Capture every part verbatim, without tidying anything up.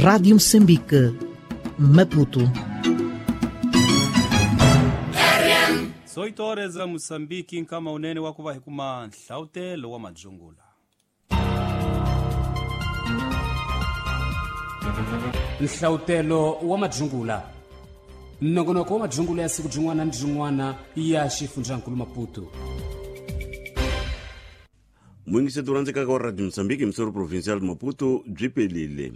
Rádio Moçambique, Maputo. dezoito horas a Moçambique nkama unene wa kuva hi kuma nhlawutelo wa madzungula. Nhlawutelo wa madzungula. Nongonoko wa madzungula ya siku jin'wana ni jin'wana ya xifundzankulu Maputo. Muyingiseti rhandzekaka wa Radio Moçambique misoro provincial Maputo byi pelile.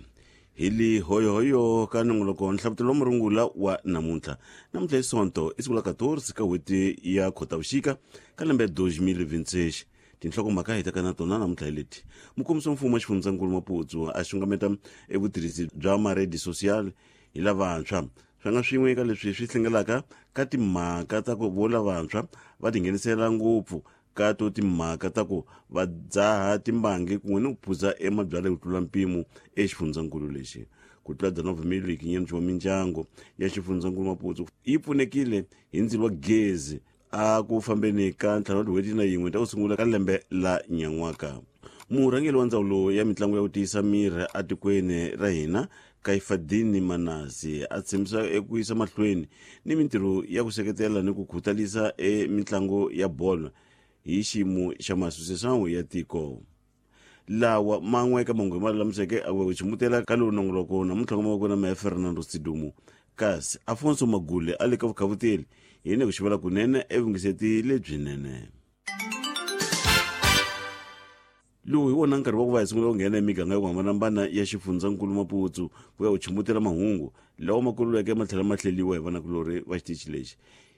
Hi li hoyohoyo ka nongoloko nhlawutelo wa murungula wa namuntlha. Namuntlha i Sonto i siku la quatorze ka n'hweti ya Khotavuxika ka lembe dois mil e vinte e seis. Tinhlokomhaka hi taka na tona namuntlha hi leti. Mukombisi wa mfumo wa xifundzankulu Maputo a xungameta evutirhisi bya maredi social hi lavantshwa. Swi nga swin'we eka leswi swi hlengelaka ka timhaka ta ku vo lavantshwa va tinghenisela ngopfu ka to timhaka ta ku va dzaha timbangi kun'we ni ku phuza emabyalwa hi ku tlula mpimo exifundzankulu lexi. Ku tlula dezenove mil e quinhentos wa mindyangu ya xifundzankulu Maputo yi pfunekile hi ndzilo wa gezi a ku fambeni ka ntlhanu wa tin'hweti na yin'we ta ku sungula ka lembe la nyan'waka. Murhangeri wa ndzawulo ya mitlangu ya ku tiyisa miri etikweni ra hina Kaifadini Manasi a tshembisa eku yisa mahlweni ni mintirho ya ku seketela ni ku khutalisa e mitlangu ya bolo hi xiyimo xa maasosiyasão ya tiko. Lawa man'we eka mahungu ma lulamiseke a ku chimutela ka lowu nongoloko namuntlha nga mavoko na meya Fernando Sidumo kasi Afonso Magule a le ka vukhavuteli hi ne ku xivela kunene evungiseti lebyinene. Lowu hi wona nkarhi wa ku va hi sungula ku nghena emiganga yo hambanahambana ya xifundzankulu Maputo ku ya ku chimutela mahungu lawa ma kululeke ma tlhela ma hleliwa hi vanakulorhi va xitichi lexi.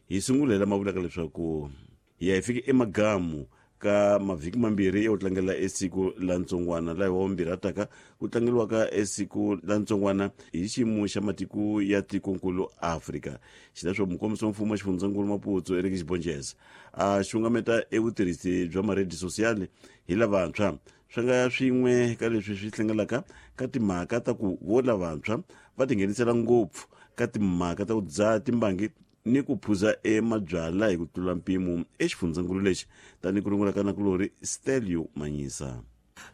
Hi sungulela ma vulaka leswaku hi ya hi fike emagamu ka mavhiki mambirhi ya ku tlangela esiku la ntsongwana laha wa vumbirhi a taka ku tlangeriwaka esiku la ntsongwana hi xiyimo xa matiko ya tikonkulu Afrika. Xileswo mukombisi wa mfumo wa xifundzankulu Maputo Eric Xibonjeza a xungameta evutirhisi bya maredi social hi lavantshwa. Swi nga swin'we ka leswi swi hlengelaka ka timhaka ta ku vo lavantshwa va tinghenisela ngopfu ka timhaka ta ku dzaha timbangi ni ku phuza emabyalwa hi ku tlula mpimo exifundzankulu lexi tanihi ku rungula ka nakulorhi Stelio Manyisa.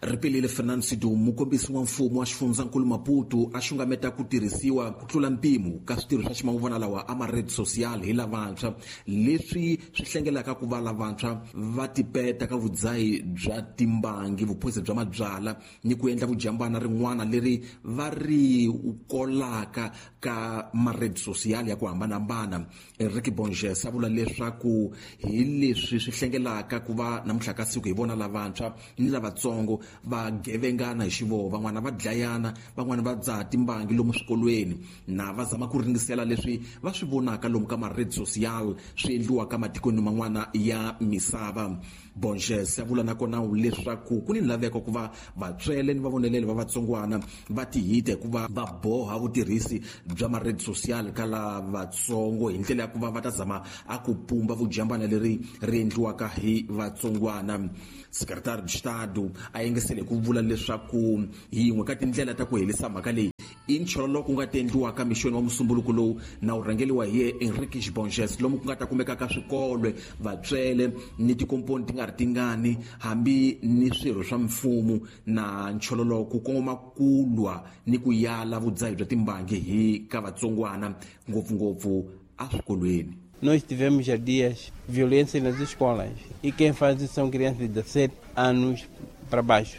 Ripelile Fernando Sidumo mukombisi wa mfumo wa xifundzankulu Maputo a xungameta ku tirhisiwa ku tlula mpimo ka switirho swa ximanguvana lawa a maredi social hi lavantshwa leswi swi hlengelaka ku va lavantshwa va tipeta ka vudzahi bya timbangi vuphozi bya mabyala ni ku endla vujambana rin'wana leri va ri kolaka ka maredi social ya ku hambanahambana. Enrique Bonges a vula leswaku hi leswi swi hlengelaka ku va namuntlha ka siku hi vona lavantshwa ni lavatsongo va gevengana hi xivoho, van'wana va dlayana, van'wana va dzaha timbangi lomu swikolweni na va zama ku ringisela leswi va swi vonaka lomu ka maredi social swi endliwaka matikweni man'wana ya misava. Bonges a vula nakona leswaku ku ni laveko ku va vatswele ni vavoneleli va vatsongwana va tihita hikuva va boha vutirhisi bya maredi social ka lavatsongo hi ndlela ya ku va va ta zama a ku pumba vujambana leri ri endliwaka hi vatsongwana. Secretary de Estado a yengesele ku vula leswaku hi yin'we ka tindlela ta ku herisa mhaka leyi i nchololo ku nga ta endliwaka mixweni wa musumbuluko lowu na wu rhangeriwa hi Enrique Bonges lomu ku nga ta kumeka ka swikolo vatswele ni tikomponi ti nga ri tingani hambi ni swirho swa mfumo na nchololo ku kongoma ku lwa ni ku yala vudzahi bya timbangi hi ka vatsongwana ngopfungopfu eswikolweni. Nós tivemos há dias violência nas escolas e quem faz isso são crianças de dezessete anos para baixo.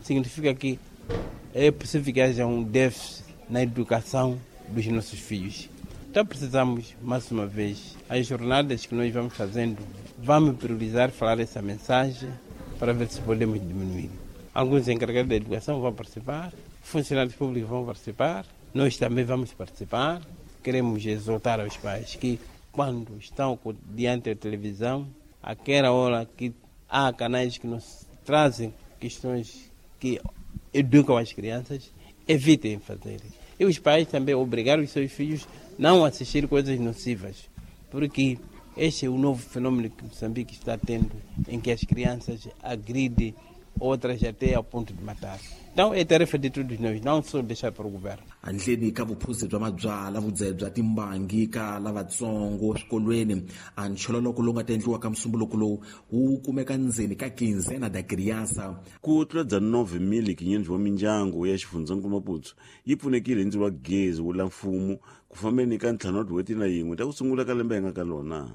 Significa que é possível que haja um déficit na educação dos nossos filhos. Então precisamos, mais uma vez, as jornadas que nós vamos fazendo, vamos priorizar falar essa mensagem para ver se podemos diminuir. Alguns encarregados da educação vão participar, funcionários públicos vão participar, nós também vamos participar. Queremos exortar aos pais que quando estão diante da televisão, aquela hora que há canais que nos trazem questões que educam as crianças, evitem fazer. E os pais também obrigaram os seus filhos não a assistir coisas nocivas, porque este é o novo fenômeno que Moçambique está tendo, em que as crianças agridem outras até ao ponto de matar. Então é tarefa de todos nós, não só deixar para o governo. Handleni ka vuphuzi bya mabyala, vudzehe bya timbangi ka lavatsongo swikolweni, a nchololoko lowu nga ta endliwa ka musumbuluko lowu wu kumeka ndzeni ka Quinzena da Criança. Ku tlula dezenove mil quinhentos wa mindyangu ya xifundzankulu Maputo yi pfunekile hi ndzilo wa gezi wu la mfumo ku fambeni ka ntlhanu wa tin'hweti na yin'we ta ku sungula ka lembe hi nga ka lona.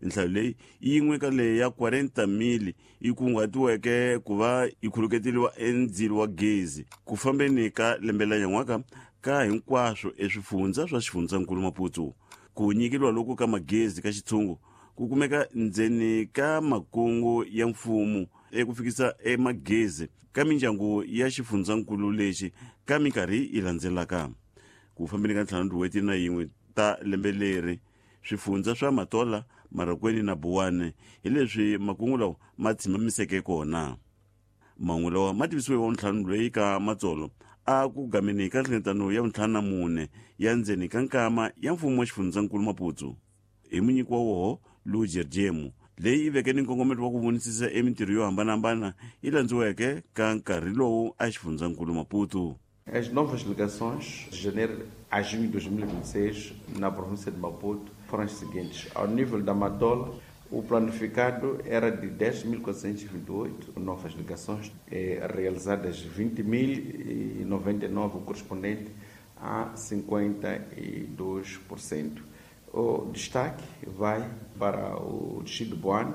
Nhlayo leyi yi yin'we ka leyi ya quarenta mil yi kunguhatiweke ku va yi khuluketeliwa endzilo wa gezi ku fambeni ka lembe la nyan'waka ka hinkwaswo eswifundza swa xifundzankulu Maputo. Ku nyikeriwa loku ka magezi ka xitshungu ku kumeka ndzeni ka makungu ya mfumo eku fikisa emagezi ka mindyangu ya xifundzankulu lexi ka minkarhi yi landzelaka. Ku fambeni ka ntlhanu tin'hweti na yin'we ta lembe leri, swifundza swa Matola, Marokweni na Buwane hi leswi makungu lawa ma tshimamiseke kona. Mahungu lawa ma tivisiwe wa ntlhanu loyi ka Matsolo a ku gameni ka nhlengeletano ya vuntlhanu na mune ya ndzeni ka nkama ya mfumo wa xifundzankulu Maputo hi munyiki wa woho Luger Jemu, leyi yi veke ni nkongometo wa ku vonisisa emintirho yo hambanahambana yi landziweke ka nkarhi lowu a xifundzankulu Maputo. As novas ligações de janeiro a junho de dois mil e vinte e seis na província de Maputo foram as seguintes. Ao nível da Matola, o planificado era de dez mil quatrocentos e vinte e oito novas ligações, eh, realizadas vinte mil e noventa e nove, correspondente a cinquenta e dois por cento. O destaque vai para o distrito de Boane,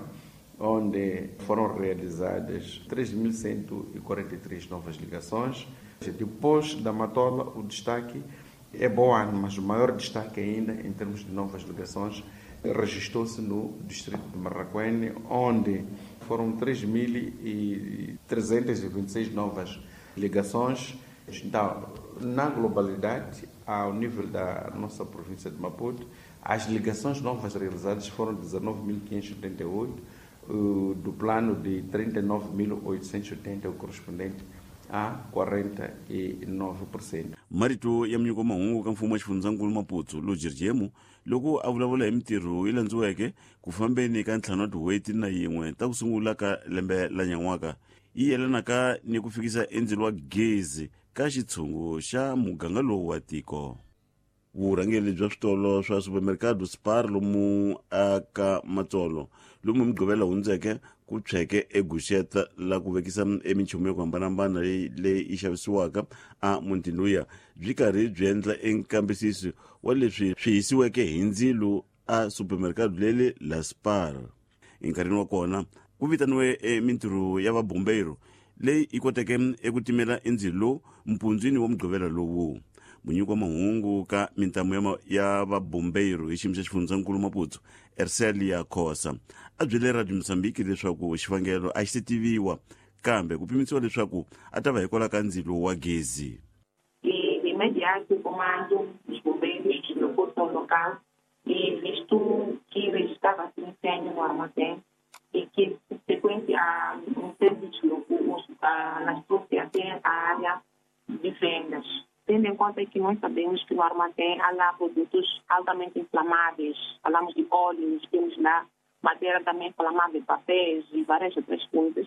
onde foram realizadas três mil cento e quarenta e três novas ligações. Depois da Matola, o destaque é Boane, mas o maior destaque ainda em termos de novas ligações registrou-se no distrito de Marracuene, onde foram três mil e trezentas e vinte e seis novas ligações. Então, na globalidade, ao nível da nossa província de Maputo, as ligações novas realizadas foram dezenove mil quinhentos e oitenta e oito, do plano de trinta e nove mil oitocentos e oitenta, o correspondente a quarenta e nove por cento. Marito ya munyiko mahungu ka mfumo wa xifundzankulu Maputo Luger Jemu loko a vulavula hi mintirho yi landziweke ku fambeni ka ntlhanu wa tin'hweti na yin'we ta ku sungula ka lembe la nyan'waka yi yelanaka ni ku fikisa endzilo wa gezi ka xitshungu xa muganga lowu wa tiko. Vurhangeri bya switolo swa supermercado Spar lomu aka Matsolo lomu Mugqivela hundzeke ku tshweke eguxeta la ku vekisa eminchumu yo ku hambanahambana leyi leyi yi xavisiwaka a mutini luya byi karhi byi endla enkambisiso wa leswi swi hisiweke hi ndzilo a supermercado leli la Spar. Enkarhini wa kona ku vitaniwe emintirho ya vabombeiro leyi yi koteke eku timela endzilo mpundzwini wa Mugqivela lowu. Munyiki wa mahungu ka mintamu ya vabombeiro hi xiyimo xa xifundzankulu Maputo Ercelia Khosa a byele Radio Mozambique leswaku xivangelo a xi se tiviwa kambe ku pimisiwa leswaku a ta va hikwalaho ka ndzilo wa gezi. De imediato o comando dos bombeiros deslocou-se ao local e visto que registrava-se um incêndio no armazém e que subsequente a um incêndio deslocou, alastrou-se até a área de vendas. Tendo em conta que nós sabemos que no armazém há lá produtos altamente inflamáveis, falamos de óleos, temos lá matéria também inflamável, papéis e várias outras coisas.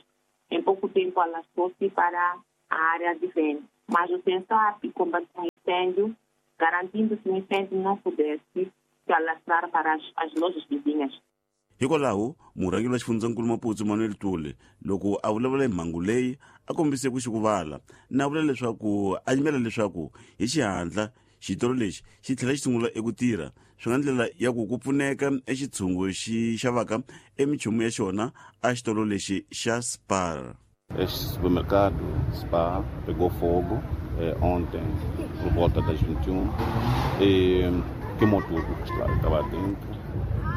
Em pouco tempo alastrou-se para a área de venda. Mas o SENSAP combateu o incêndio, garantindo que o incêndio não pudesse se alastrar para as, as lojas vizinhas. Hikwalaho murhangeri wa xifundzankulu Maputo Manuel Tule loko a vulavula hi mhangu leyi a kombise ku xikuvala na vula leswaku a yimela leswaku hi xihatla xitolo lexi xi tlhela xi sungula eku tirha swi nga ndlela ya ku ku pfuneka exitshungu xi xavaka eminchumu ya xona a xitolo lexi xa Spar. Este supermercado Spar pegou fogo eh, ontem por volta das vinte e uma e queimou tudo que estava dentro,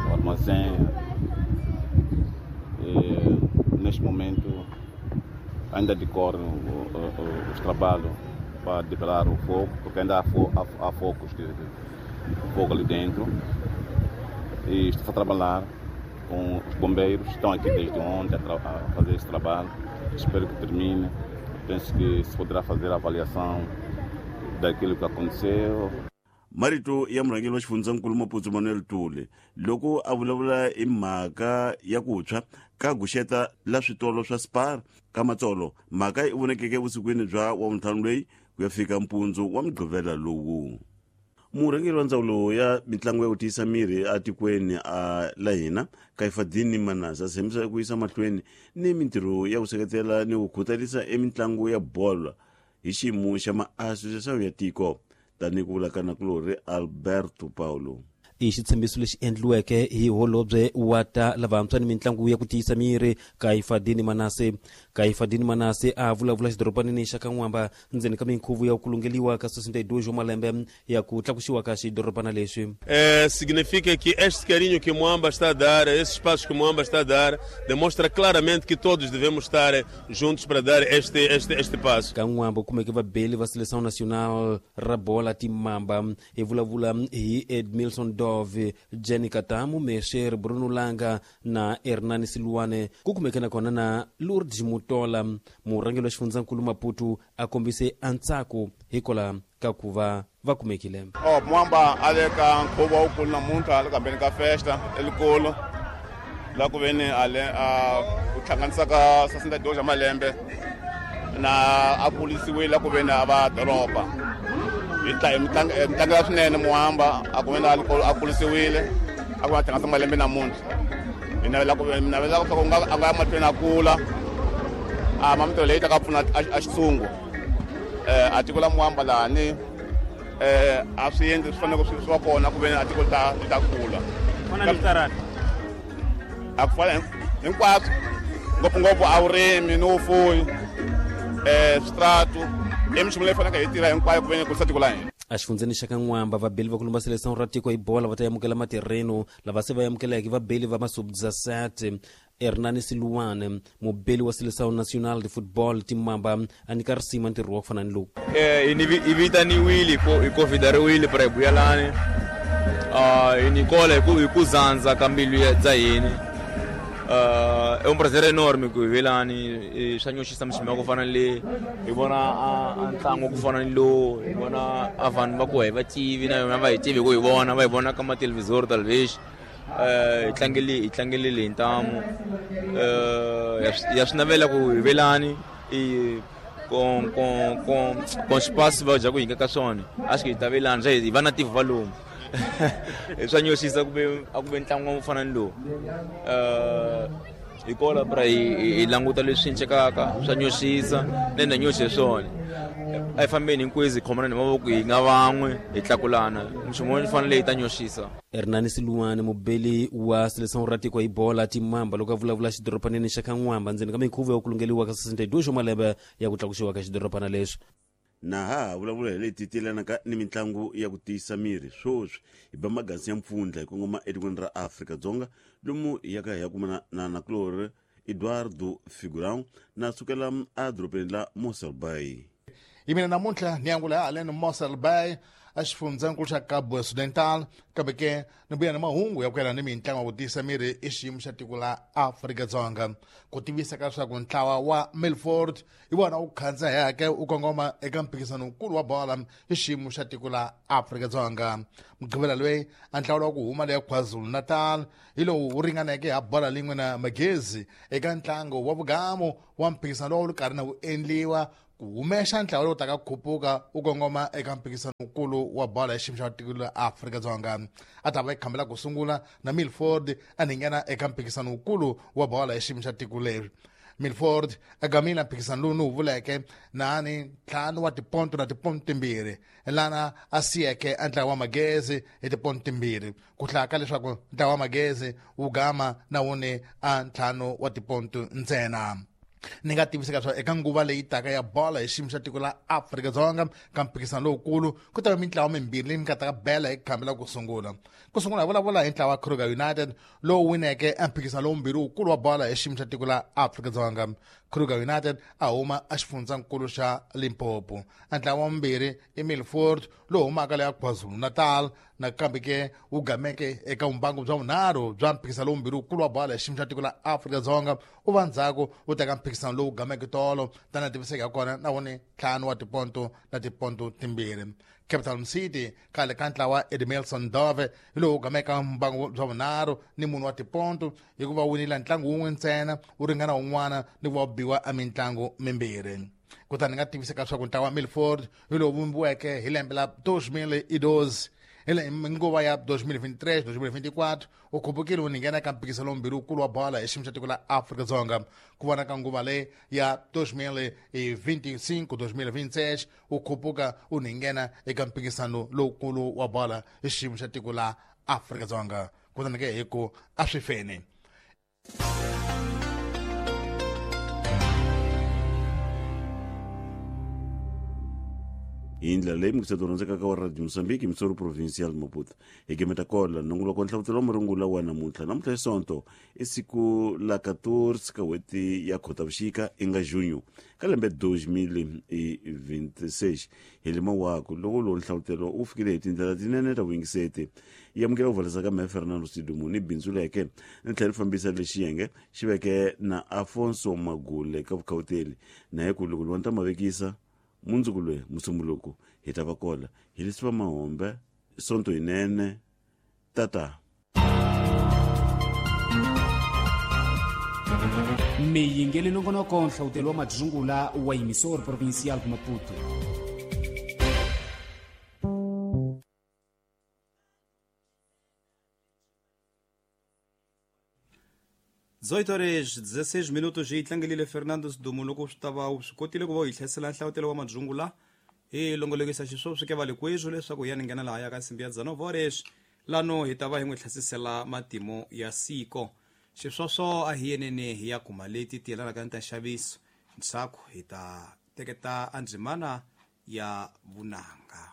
o armazém. E, neste momento ainda decorrem os trabalhos para debelar o fogo, porque ainda há, fo há, há focos de, de fogo ali dentro. E estou a trabalhar com os bombeiros, estão aqui desde ontem a, a fazer esse trabalho. Espero que termine. Penso que se poderá fazer a avaliação daquilo que aconteceu. Marito ya murhangeri wa xifundzankulu Maputo Manuel Tuli loko a vulavula hi mhaka ya ku tshwa ka guxeta la switolo swa Spar ka Matsolo. Mhaka yi vonekeke evusikwini bya wavuntlhanu leyi ku ya fika mpundzu wa mugqivela lowu. Murhangeri wa ndzawulo ya mitlangu ya ku tiyisa miri etikweni a la hina Kaifadini Manasa a tshembisa ku yisa mahlweni ni mintirho ya ku seketela ni ku khutalisa emitlangu ya bolo hi xiyimo xa maasosiyasiyo ya tiko, tanihi ku vula ka nakulorhi Alberto Paulo. I xitshembiso lexi endliweke hi holobye wa ta lavantshwa ni mitlangu ya ku tiyisa miri Kaifadini Manase. Kaifadini Manase a vulavula xidorobanini xa Kan'wamba ndzeni ka minkhuvo ya ku lungeliwa ka sessenta e dois wa malembe ya ku tlakusiwa ka xidorobana lexi. É, significa que este carinho que Moamba está a dar, esses passos que Moamba está a dar, demonstra claramente que todos devemos estar juntos para dar este, este, este passo. Kan'wamba u kumeke vabeli va seleção nacional ra bola Timamba hi vulavula hi Edmilson Dove, Jenny Katamu, Mesher Bruno Langa na Hernani Silwane. Ku kumeke nakona na Lourdes Mutola. Murhangeri wa xifundzankulu Maputo a kombise antsako hikola ka ku va va kumekile. Oh, Moamba a le ka nkhuvo wukulu namuntlha le kambeni ka festa elikulu la ku veni a le a ku hlanganisa ka sessenta e dois ya malembe na a kulisiwile la ku veni a va doroba. Hi tla hi mitlangela swinene Moamba a ku veni a kulisiwile a ku va hlanganisa malembe namuntlha. Hi navela ku navela ku nga a nga ya mahlweni a kula a ma mintirho leyi ta ka pfuna a xitshungu a tiko la Moamba lahani a swi endli swi fanele swi va kona ku veni a tiko ta ta kula. A ku fana hinkwaswo ngopfungopfu a vurimi ni vufuwi switratu i minchumu leyi faneleke hi tirha hinkwayo ku veni kurisa tiko la hina. Exifundzeni xa Kan'wamba vabeli va ku lumba seleção ra tiko hi bola va ta amukela matirheno lava se va amukeleke vabeli va masubdzaset Hernani Siluane, mubeli wa seleção nacional de football Timamba a nyika risima ntirho wa ku fana ni lowu. Hi vitaniwile hi convidariwile para hi vuya lani hi nikola hi ku zandza ka mbilu bya hina. É um prazer enorme ku hi velani swa nyoxisa miximo ya ku fana le hi vona a ntlangu ku fana ni lowu hi vona a vanhu va ku hi va tivi na yona va hi tivi ku hi vona va hi vona ka mathelevhizori talvez hi tlangele hi tlangelele hi ntamu ya swi navela ku hi velani i com com com com espaço va dya ku hi ka swona a swi hi ta velani swa hi va na tivhu va lomu swa nyoxisa ku ve a ku ve ntlangu wo fana ni lowu hi kola pra hi languta leswi cincekaka swa nyoxisa na na nyoxe swona a hi fambeni hinkwezi hi khomana ni mavoko hi nga van'we hi tlakulana nchumu wo fanele hi ta nyoxisa. Hernani Siluane, mubeli wa seleção ra tiko hi bola Timamba loko a vulavula xidorobanini xa Kan'wamba ndzeni ka minkhuvo ya ku lungeliwa ka sessenta e dois wa malembe ya ku tlakusiwa ka xidorobana lexi. Na ha vulavula hi leti tielanaka ni mitlangu ya ku tiyisa miri swoswi hi ba magasi ya mpfundla hi kongoma etikweni ra Afrika-Dzonga lomu hi yaka hi ya kumana na nakulorhi Eduardo Figurão na sukela edorobeni la Mossel Bay. Hi mina namuntlha ni angula haleni Mossel Bay a xifundzankulu xa Cabo Occidental kambe ke ni vuya ni mahungu ya ku yelana ni mitlangu ya ku tiyisa miri i xiyimo xa tiko la Afrika-Dzonga. Ku tivisa ka leswaku ntlawa wa Milford hi wona wu khandzaheke wu kongoma eka mphikizano wukulu wa bola i xiyimo xa tiko la Afrika-Dzonga. Mugqivela loyi a ntlawa wa ku huma leya KwaZulu-Natal hi lowu wu ringaneke ha bola lin'we na Magezi eka ntlangu wa vugamu wa mphikizano lowu wu karhi na wu endliwa ku humexa ntlawa lowu taka khupuka wu kongoma eka mphikizano wukulu wa bola ya xiyimo xa tiko la Afrika-Dzonga. A ta va yi khambela ku sungula na Milford a nghena eka mphikizano wukulu wa bola ya xiyimo xa tiko leri. Milford a gamile mphikizano lowu ni wu vuleke nani ntlhanu wa tiponto na tiponto timbirhi lana a siyeke a ntlawa wa Magezi hi tiponto timbirhi ku hlaya ka leswaku ntlawa wa Magezi wu gama na wuni a ntlhanu wa tiponto ntsena. Ni nga tivisa leswaku eka nguva leyi taka ya bola hi xiyimo xa tiko la Afrika-Dzonga ka mphikizano lowukulu ku ta va mintlawa mimbirhi leyi nga ta ka bela hi khambi la ku sungula. Ku sungula hi vulavula hi ntlawa wa Kruger United lowu wineke emphikizano lowumbirhi wukulu wa bola hi xiyimo xa tiko la Afrika-Dzonga. Kruger United a huma exifundzankulu xa Limpopo. A ntlawa wa vumbirhi i Milford lowu humaka le KwaZulu-Natal nakambe ke wu gameke eka vumbangu bya vunharhu bya mphikizano lowumbirhi wukulu wa bola hi xiyimo xa tiko la Afrika-Dzonga u va ndzhaku wu teka mphikizano lowu gameke tolo tana tiviseka kona na wone ntlhanu wa tiponto na tiponto timbirhi. Capital City khale ka ntlawa Edmilson Dove hi lowu gameka mbangu bya vunharhu ni munhu wa tiponto hikuva winile ntlangu wun'we ntsena wu ringana wun'wana ni ku va biwa a mintlangu mimbirhi. Kutani nga tiviseka leswaku ntlawa Milford hi lowu vumbiweke hi lembe la dos mil e doze hi nguva ya dos mil vinte e três dos mil vinte e quatro u khupukile wu nghena eka mphikizano lombirhi wukulu wa bola hi xiyimo xa tiko la Afrika-Dzonga. Ku vona ka nguva leyi ya dos mil e vinte e cinco dos mil vinte e seis u khupuka u nghena eka mphikizano lowukulu wa bola hi xiyimo xa tiko la Afrika-Dzonga. Kutani ke hi ku a swi feni. Hi ndlela leyi mukiseti rhandzekaka wa Radio Mozambique Missouri Provincial Maputo hi gemeta kola nongoloko nhlavutelo wa marungula wa namuntlha. Namuntlha hi Sonto i siku la quatorze ka n'hweti ya Khotavuxika i nga junho ka lembe dos mil e vinte e seis. Hi lima waku loko lowu nhlavutelo wu fikile hi tindlela tinene ta vuyingiseti yi amukela ku valisa ka mehe Fernando Sidumo ni bindzu leke ni tlhela ri fambisa lexi yenge xi veke na Afonso Magule ka vukhawuteli na hi ku loko lwa ni ta mavekisa mundzuku loyi musumbuluko hi ta va kola hi leswi va mahombe Sonto yinene tata. Miyingeli nongonoko nhlawutelo wa madzungula wa Emissor Provincial Maputo. dezoito horas dezesseis minutos hi tlangelile Fernando Sidumo loko swi ta va swi kotile ku va u hi hlasela nhlawutelo wa madzungula hi longolokisa xiswo swi ke va le kwezwo leswaku ya ni nghena laha ya ka nsimbi ya dezenove horas lano hi ta va hi n'wi hlasisela matimo ya siko. Xiswoswo a hi yenene hi ya kuma leti ti yelanaka ni ta nxaviso ndzhaku hi ta teketa andzimana ya vunanga.